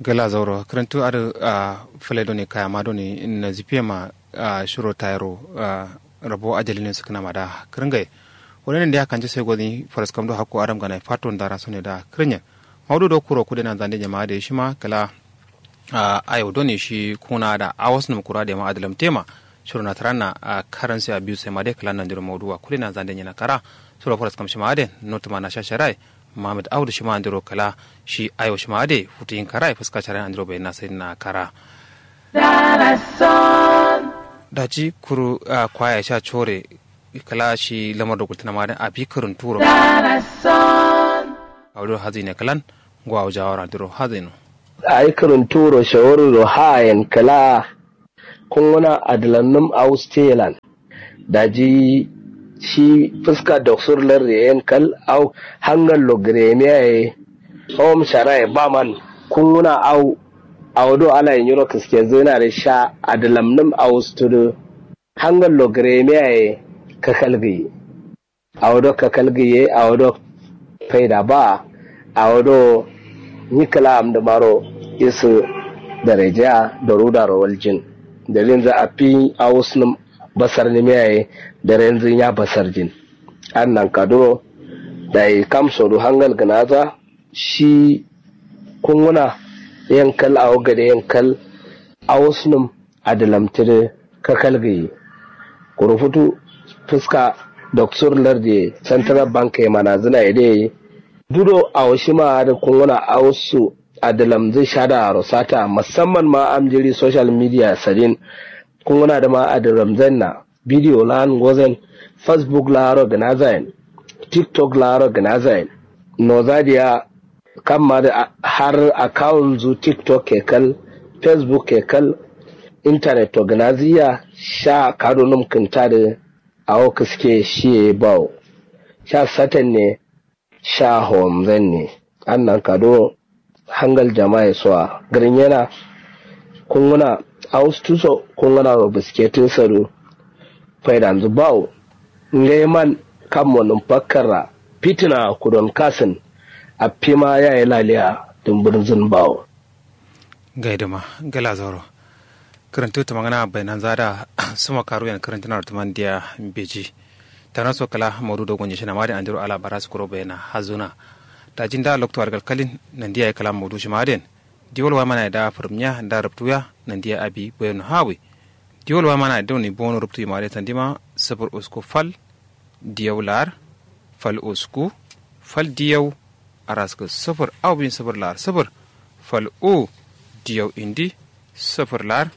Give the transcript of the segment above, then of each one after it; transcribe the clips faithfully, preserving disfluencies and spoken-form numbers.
Gla zauro kǝrǝntu adǝ. Fǝle done kayama done nazifiye ma shiro tayiro. Rabo ajali ne sǝkǝna ma da kǝrǝngaye. Wani nandi ya kanje sai gozǝ ni faraskam do hakko adam gana fato ndara sone da kǝrǝnyen. Maudu do kuro kude nanzande nyama adǝ ye shima kǝla. Ayo done shi kuna da awas nǝm kura da yama adǝlam tema. Shiro na tǝranna karansi abiyu sai ma dai kǝla nandiro maudu wa kude nanzande nyina kara. Shiro faraskam shima adǝ ye notuma na shashara ye. Muhammad audu shima andiro kala shi ayo shima ade futu yin kara fuska shara andiro bai na sai na kara. Daji kuru kwaya sha chore kala shi lamar da gultuna ma abi kurun turo. Audu hazi ne kalan gwa jawara andiro hazi no. Ai kurun turo shawuru do hayen kala. Kunguna adǝlannǝm au stelan. Daji shi fǝska doksur larde yen kal au hangal lo gǝremiya ye. Hom shara ye baman kunguna au. Au do ala ye nyiro kǝske zǝna dǝ sha adǝlamnǝm au studǝ. Hangal lo gǝremiya ye kakal gǝyi. Awo do kakal gǝye awo do faida ba. Awo do nyi kǝla amdǝmaro isǝ dareja darudaro waljin. Dalilnzǝ affi awusnǝm basarnǝmiya ye darenzu nya basarjin. Adǝ nankaduro dayi kamsodu hangal gǝnaza. Shi kunguna yen kal awo gade yen kal awusnǝm adǝlamtǝdǝ kakal gǝyi. Kuru futu fǝska doksur lardiye central bank ye manazǝna ye dǝ ye. Dudo awo shima adǝ kunguna awusu adǝlamzǝ shadaaro sata musamman ma amjiri social media sadin. Kunguna dǝma adǝlamzǝnna bidiyo lan ngozen. Facebook laaro gǝnazayen. Tiktok laaro gǝnazayen. Noza diya kamma dǝ har akawun zu tiktok ke kal. Facebook ke kal. Intanet to gǝnazǝ ya sha kadunum kǝnta dǝ. Awo kǝske shiye bawo sha satan ne. Sha howomzan ne. Annan kado hangal jama'a ye sowa gǝrǝnyena. Kunguna awustu so kunguna ro bǝske tǝ sadu. Faidanzǝ bawo ngai man kammo nǝm fakkarra. Fitina kudon kasǝn affima yaye laliya dǝmbǝrnzǝn bawo. Ngai dǝma gala zauro. Kǝrǝntǝ tǝmangǝna bainanza da. Sǝmo karuyen kǝrǝntǝnaro tǝman diya mbeji. Tanaso kǝla maudu do gonye shina made andiro ala bara sukuro bayana hazuna. Daji nda loktu adǝ kalkalin nandiya ye kǝla maudu shima aden. Diwol wamana ye da fǝrǝmnya nda rǝptuya nandiya abi bayano hawi. Diwol wamana ye doni bono rǝptu yima de sandima. Sǝfur usku fal diyau laar fal usku fal diyau. Araskǝ sǝfur au bin sǝfur laar sǝfur fal u diyau indi sǝfur laar.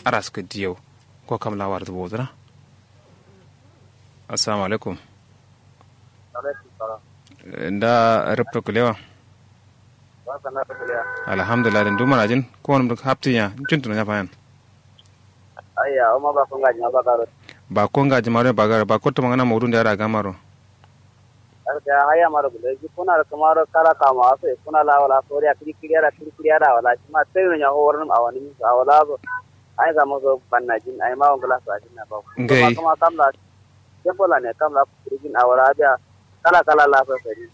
Araskǝ diyau. Ngo kam la warzǝ bozǝna. Assalamu alaikum. Nda rǝpto kǝlewa. Alhamdulillah dǝ ndu manajin. Kowonǝm dǝ haptinya ncuntǝno nya fayan. Ayya umma bako ngaji ma bagaro. Bako ngaji maro bagaro bako tǝmangǝna maudu nde ada gamaro. Arka haya maro gulai ji kuna da kuma ro kara kama aso kuna la wala soriya kiri kiri ada kiri kiri ada wala shi ma tayo nya ho warnum awani min so awala so. Ai zama so banna jin ai ma wangla so ajin na ba. Ngai. Kuma kam la kembo la ne kam la kiri jin awala biya. Kala kala la so sai.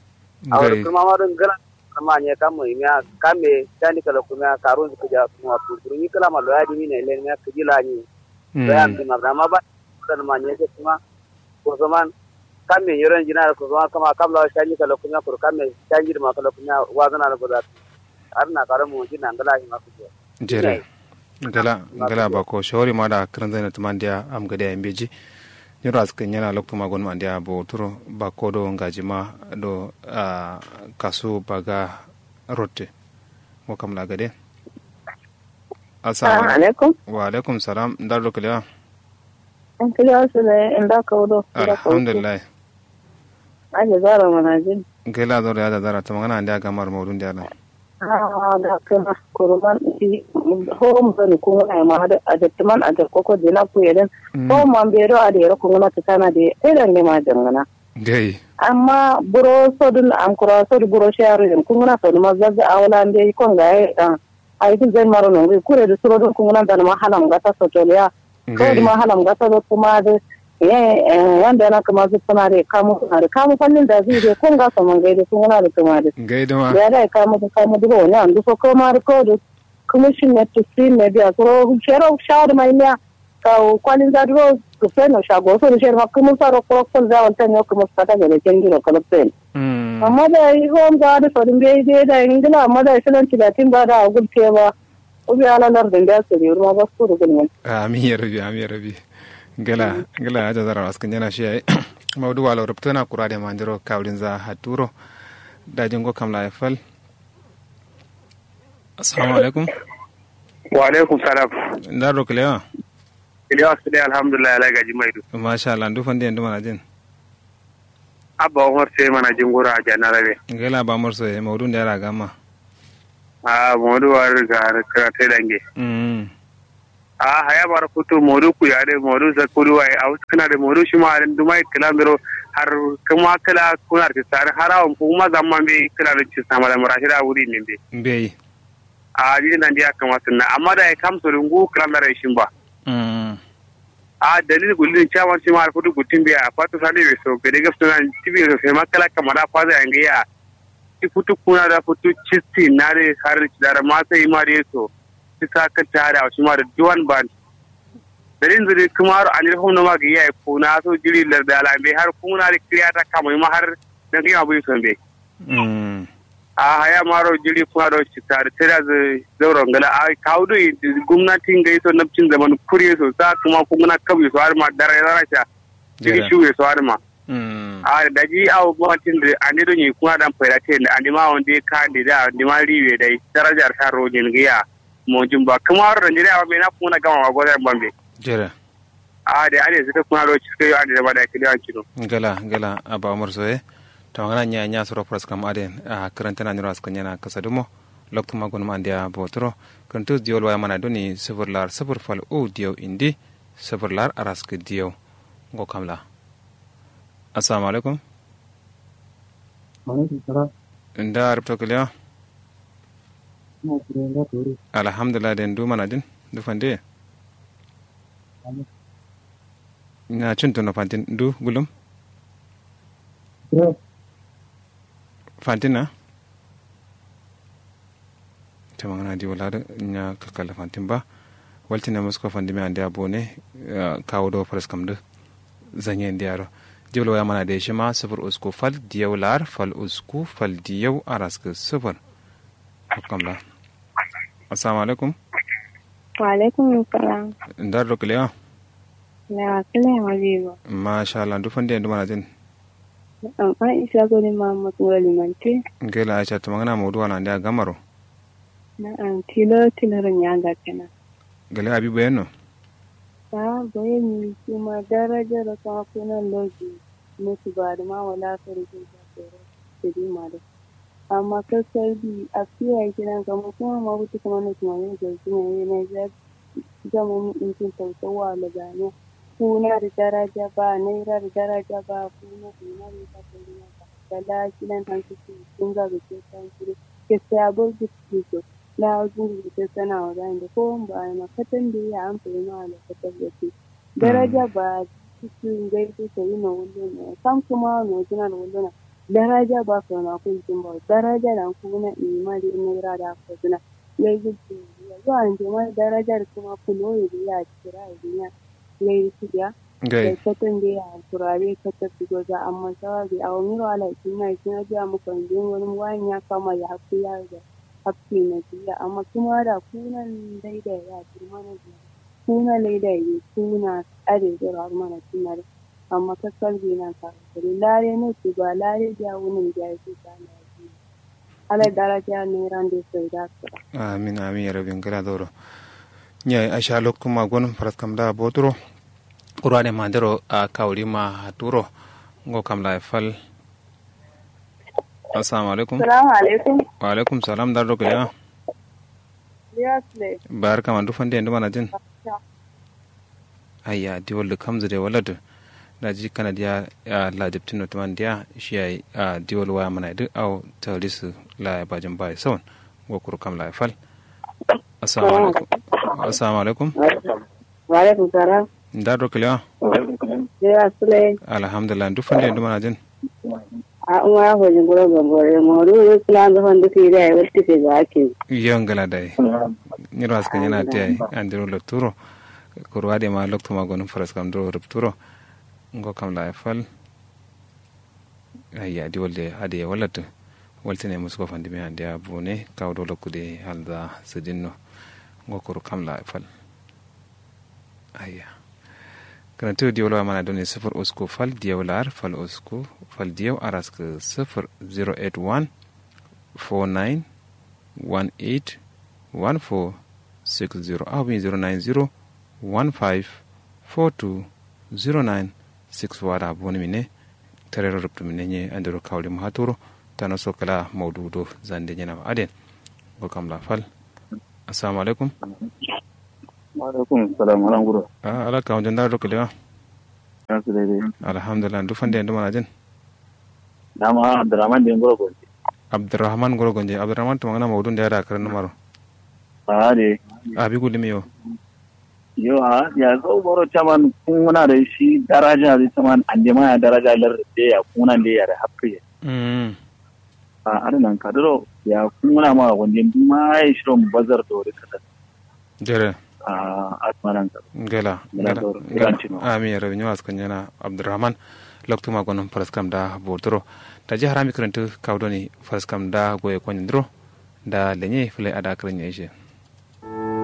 Awala kuma ma don gala. Amma nye kam mo imiya kam me tandi kala kuma karun su kuja kuma kuru ni kala ma loya di mine len me kuji la ni. Loya mi ma ma ba. Kuma nye kuma. Kusuman kam me nyoron jina da kusuman kama kam lawa shanji kala kunya kuru kam me shanji da ma kala kunya wazana da guda. Har na karo mu jina ngala shi ma kujo. Jere. Ngala ngala bako shawari ma da kran zai na tuman dia am gade ya mbeji. Nyoro askin yana loktu ma gon man dia bo turo bako do ngaji ma do kasu baga rotte. Mo kam la gade. Assalamu alaikum. Wa alaikum salam ndar do kalewa. An kila wasu ne inda kaudo. Alhamdulillah. Aje zara manajin. Gela zoro ya da zara ta magana ande aga mar maudun da yaran. Ah da kana kuruman. Home zan kuma ai ma da ajatman ajar koko dina ku yeden. Home man bero a da yero kuma ta sana da sai da ne ma jangana. Gai. Amma buro sodun am kura sodu buro sharu yen kuma na sodu ma zazza awla ande kon ga ai. Ai duk zai maro nongui kure duk suro duk kunguna dana ma halam gata sotoliya. Kawai duk ma halam gata duk kuma duk. Ye wanda yana kuma duk suna duk kamu suna duk kamu fannin da zai duk kun gasa man gai duk kunguna duk kuma duk. Gai duk ma. Da ya dai kamu duk kamu duk wani an duk so kawai ma duk kawai duk. kǝmǝshin ne tusin ne biya suro shero shawar mai miya. Kawu kwalin za duro gǝseno shago so dǝ shero ma kǝmǝsa ro kuro kǝmǝsa walta ne kǝmǝsa ta gade kenjiro kalaksen. Amma da yi hom za dǝ sodin bai dai da yi ngila amma da yi shilan tilatin ba da agul te ba. Ubi ala lardin da suri wuri ma ba su rugul mai. Amin ya rabi, amin ya rabi. Ngila ngila aja zara waskǝn jana shi yayi. Maudu walo rubtuna kura da mandiro kawulin za haturo. Dajin go kam la ya fal. Assalamu alaikum. Wa alaikum salam. Ndaro kilewa? Kilewa sile alhamdulillah ala gaji maidu. Masha Allah ndu fande ndu manajin. Abba umar sai manajin gura a janarabe. Ngela ba umar sai maudu nda yara gama. A maudu wa riga kira tai dange. Mm. A haya mara futu modu kuya de modu zakkudu waye a wuskuna de modu shima adin dumai kǝla mbiro. Har kǝma kǝla kunar ci sari har awon kuma zamma mbe kǝla do ci samala murashida wuri ne mbe. Mbeyi. A jiri nandi ya kǝma sǝnna amma dayi kam sodu ngu kǝla ndara ishin ba. Mm. A dalil gulli chairman shima har futu guttin mbe a fatu sali be so gade gafsuna. Tibi so sai ma kǝla kamada kwaza yange ya. Ti futu kuna da futu cisti na de har dara ma sai ma de so. Ti sa kǝtta da shima da duwan ban. Dalin zuri kǝmaro anil hum noma gǝyi yayi kuna so jiri larda alambe har kuna da kǝriyata kamai ma har. Dangǝyi ma bui sombe. Mm. A haya maro jiri kuna do citta da tera zǝ zauro ngala a kawu do gumnati ngai so nabcin zaman kuriye so sa kuma kuna kabu so har ma dara ya zara sha. Jiri shuwe so har ma. Mm. A daji awo gumnatin da ande do nyi kuna dan faida ten ande ma wande ka ande da ande ma riwe dai darajar ta rojin giya. Mojin ba kǝmaro da njiri awo me na kuna gama wa godan bambe. Jere. A de ade suka kuna do ciska yo ande da ba da kidi an kino. Ngala ngala aba umar soye. To ngana nya nya suro pras kam aden a karanta na nyiro askan yana kasa dumo. Loktu ma gunum andiya botoro. Karanta diyol waya mana doni sifir lar sifir fal u diyau indi. Sifir lar araska diyau. Ngo kamla. Assalamu alaikum. Alaikum salam. Nda rubto kiliya? Alhamdulillah de ndu manajin ndu fande. Na cin tono fantin ndu gulum. Fantin na. Tǝmangǝna diwo ladǝ nya kalkal fantin ba. Waltǝne musko fandimiya andeya bone. Kawu do faraskam dǝ. Zanye ndiyaro. Diwol waya mana de shima sǝfur usku fal diyau lar fal usku fal diyau araskǝ sǝfur. Kamla. Assalamu alaikum. Wa alaikum salam. Ndar do kǝlewa? Lewa kǝlewa ma bibo. Masha Allah ndu fande ndu manajin. Na'am aisha goni muhammad ngoro limanti. Ngela aisha tǝmangǝna mauduwa na andeya gamaro. Na'am tilo tiloro nyanga kena. Gale abi bayanno. Ahh bayanni shima darajaro kama kuna loji. Musu badǝma wala sori jin kasoro. Sadi mado. Amma kakkadi afiya ye kidan kama kuma ma butu kǝmando kǝmando gultǝna ye naija. Jaman intin sausauwa lagamiya. Kuna dǝ daraja ba naira dǝ daraja ba kuna kuna dǝ ba. Kala kidan hankici. Kunza gultǝna hankici. Kessa ya bau gultǝna so. Lawo jingǝ gultǝna so na wazayinde kowon ba ye ma katan dǝ ye ya amfani ma wala katan gultǝna. Daraja ba. Cici ngai dǝ sai no wulluna ye kam kuma no jina dǝ wulluna. Daraja ba so na kun jin ba daraja dan kuna. Ima dǝ naira da ko dǝna. Ngai gultǝna ye yo ande ma daraja dǝ kuma kulo ye dǝ ya cira ye dǝ nya. Ngai dǝ kidiya. Ngai. Katan dǝ ye ya kura dǝ ye katan dǝ goza amma sawa dǝ ye awo nyiro ala ye kinna ye kina dǝ ya mukon dǝ ye ngonum wayin ya kama ye hakku ya. Hakku ye na dǝ ye amma kuma da kunan dai dai ya kirma na dǝ ye. Kuna laida ye kuna. Adai zairo har mana cin na dǝ. Amma kakkal binan karo kare lare no tuba lare biya wunun biya ye sai kana ye. Alai daraja naira nde sai da sura. Amin amin ya rabin gala zauro. Nya aisha loktu ma gonum faraskam da boturo. Kurwa de mandero a kawuri ma haturo. Ngo kam la fal. Assalamu alaikum. Assalamu alaikum. Wa alaikum salam dar do kalewa? Barka ma ndu fande ndu manajin? Ayya diwal dǝ kamzǝ dai walladǝ. Daji kanadiya. Ladǝbtǝ notǝman diya shiya. Diwal waya mana dǝ awo talisǝ. Laya bajin bayi sawan. Ngo kuru kam laya fal. Assalamu alaikum. Assalamu alaikum. Wa alaikum salam. Nda do kalewa? Alhamdulillah ndu fande ndu manajin? A umma ya fojin guro gambore modu. Kǝla ndu fande kǝyi dai waltǝ ke ga ake. Yo ngla dai. Nyiro askǝ nyena tiya ye andiro lokturo. Kuru adǝ ye ma loktu ma gonǝm faraskam duro rubturo. Ngo kam la ye fal. Ayya di walde adǝ ye wallatǝ. Waltǝne musko fandimiya andeya bune kawu do loktu de halza sǝdinno. Ngo kuru kam la ye fal. Ayya. Kǝrantǝ diyau la mana done sǝfur usku fal diyau la ar fal usku fal diyau araskǝ sǝfur zero eight one four nine one eight one four six zero aw bin zero nine zero one five four two zero nine six four ada boni mine. Tarero rubtu mine nye andero kawli mahaturo. Tano so kala maudu do zande nyena ma aden. Go kam la fal. Assalamu alaikum. Wa alaikum salam, ala nguro? Ah, ala kawo jandara do kalewa. Alhamdulillah, duk fande yandu mana jin? Dama abdurrahman de nguro gonje. Abdurrahman nguro gonje. Abdurrahman tumangana maudun da ya da karin numaro? Ah, de. Abi gulimi yo. Yo, ah, ya zo boro caman kunguna da shi daraja da caman ande ma ya daraja lar de ya kunguna de ya da hakkı ya. Mm. Ah, ada nan kaduro ya kunguna ma wande duma ya shiro bazar do da kada. Jere. Ah, asmaran ka. Ngela. Ngela ngela doro. Ngela. Iran tino. Ami ya rabi nyuwa skan yana abdurrahman. Loktu ma gonon faraskam da botoro. Taji harami kirintu kawdoni faraskam da goye konyandiro. Da lenye fule ada kirin ya ishe.